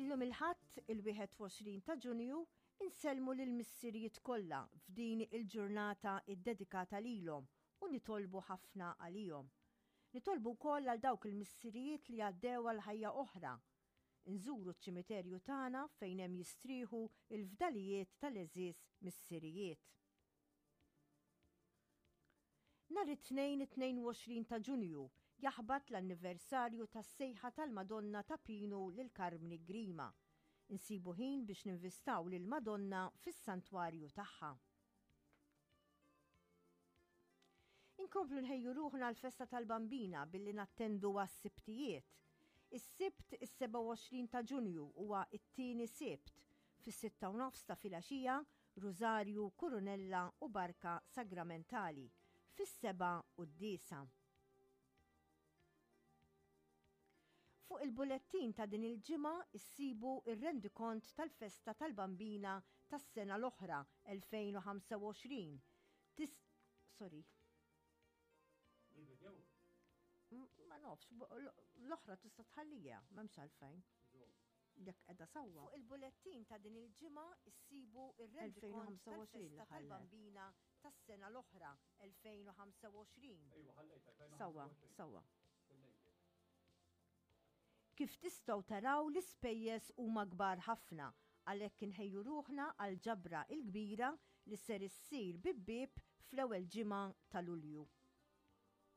Illum il-Ħadd, il-21 ta' Ġunju, insellmu lill-missirijiet kollha f'din il-ġurnata ddedikata lilhom u nitolbu ħafna għalihom. Nitolbu wkoll għal dawk il-missirijiet li għaddew għal ħajja oħra. Inżuru ċ-ċimiterju tagħna fejn hemm jistrieħu l-fdalijiet tal-għeżież missirijiet. Nhar it-Tnejn 22 ta' Ġunju jaħbat l-anniversarju tas-sejħa tal-Madonna ta' Pinu lil Karmni Grima. Insibu ħin biex ninvistaw lill-Madonna fis-santwarju tagħha. Inkomplu nħejju ruħna għall-festa tal-Bambina billi nattendu għas-Sibtijiet. Is-Sibt is-27 ta' Ġunju huwa t-tieni Sibt, fis-sitta u nofs ta' filgħaxija, Rużarju, Kurunella u Barka Sagramentali, fis-sebgħa quddiesa. Fuq il-bulettin ta' din il-ġimgħa issibu r-rendikont tal-festa tal-Bambina tas-sena l-oħra 2025. Tis sorry. Ma nafx, l-oħra tista' tħallija, m'hemmx għalfejn. Jekk qiegħda sewwa. Fuq il-bulettin ta' din il-ġimgħa issibu r-rendikont tal-festa tal-Bambina tas-sena l-oħra 2025. Sewwa, sewwa. Kif tistgħu taraw l-ispejjeż huma kbar ħafna għalhekk inħejju ruħna għall-ġabra l-kbira li ser issir bieb bieb fl-ewwel ġimgħa ta' Lulju.